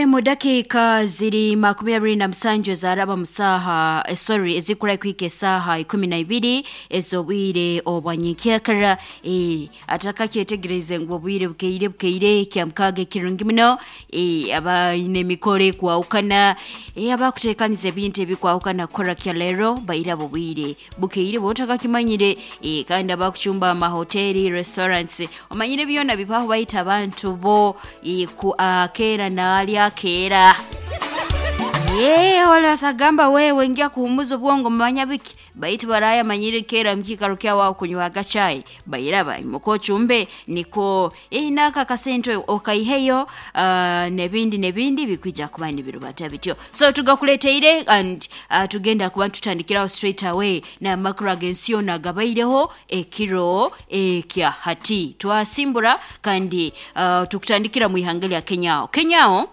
Mu dakiika ziri 27 ezaraba mu saaha, sorry, ezikura kuhika esaaha 12 ez'obwire obwanyenkyakara. Atakakyetegereze ngu obwire bukeire, bukeire kya 6 ekirungi muno. Abaine emikoro ekwahukana, abakuteekaniza ebintu ebikwahukana kukora kya leero bairaba obwire bukeire bwotakakimanyire. Kandi abakucumba amahoteri, restaurants, omanyire byona bibaho baita abantu bo ku akeera naali akeera. Wala wewe ingia kuhumuza obwongo manya biki baitu baraya manyire kera mukikaro kyawo kunywaga chai bairaba imuko chumbe niko naka kasente okaiheyo, nebindi nebindi bikwija kuba nibirubata bityo. So tugakuleteire and tugenda kuba tutandikiraho straight away n'amakuru ag'ensi yoona agabaireho ekiro ekya hati. Twasimbura kandi tukutandikira mu ihanga lya Kenyao. Kenyao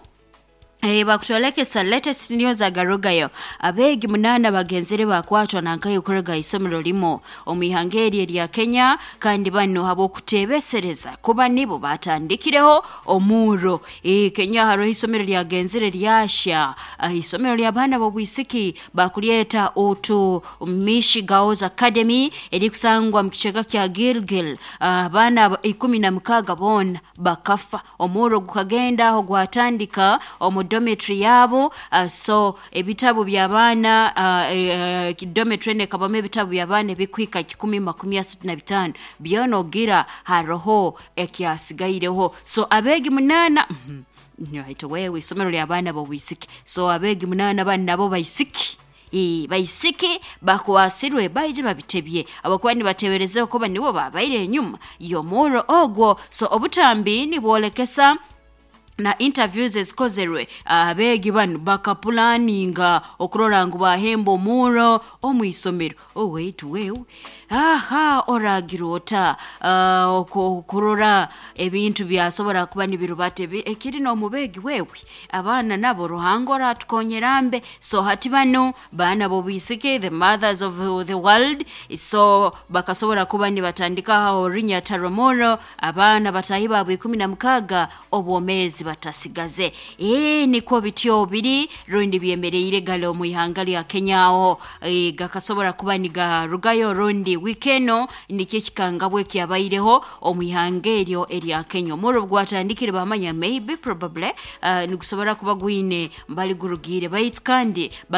bakutwolekesa latest news agarugayo: abeegi 8 bagenzere bakwatwa nankayo kuruga isomero limo omu ihanga eri erya Kenya, kandi bano habw'okuteebesereza kuba nibo batandikireho omurro. Kenya hariho isomero lyagenzere lyasha, isomero ly'abaana b'obwisiki bakulyeta Utumishi Girls Academy erikusangwa mu kicweka kya Gilgil. Abaana 16 boona bakafa. Omurro gukagenda aho gwatandika omu dormitory yabo. So ebitabu by'abaana, dormitory enu ekabamu ebitabu by'abaana ebikuhika 135, byona ogira haroho ekyasigaireho. So abeegi 8, wewe, isomero ly'abaana b'obwisiki, so abeegi 8 banu nabo baisiki, baisiki bakwasirwe baije babitebye abakuba nibateberezeho kuba nibo babaire enyuma y'omurro ogwo. So obutambi nibwolekesa na interviews ezikozerwe, abeegi banu bakapulaninga okurora ngu bahemba omurro omu isomero. Oweitu wewe, aha oragira ota okurora ebintu byasobora kuba nibirubata ekiri n'omubeegi wewe abaana nabo Ruhanga oratukonyera mbe. So hati bano baana b'obwisiki, the mothers of the world, so bakasobora kuba nibatandikaho orunyata rw'omurro, abaana bataahi baabo 16 obwomeezi batasigaze. Nikwo bityo biri rundi byemereire gale omu ihanga lya Kenya aho. Gakasobora kuba nigarugayo rundi wiiki eno nikyo ekikangabwa ekyabaireho omu ihanga eryo erya Kenya. Omurro gwatandikire bamanya maybe probably nigusobora kuba gwine mbali gurugiire baitu kandi.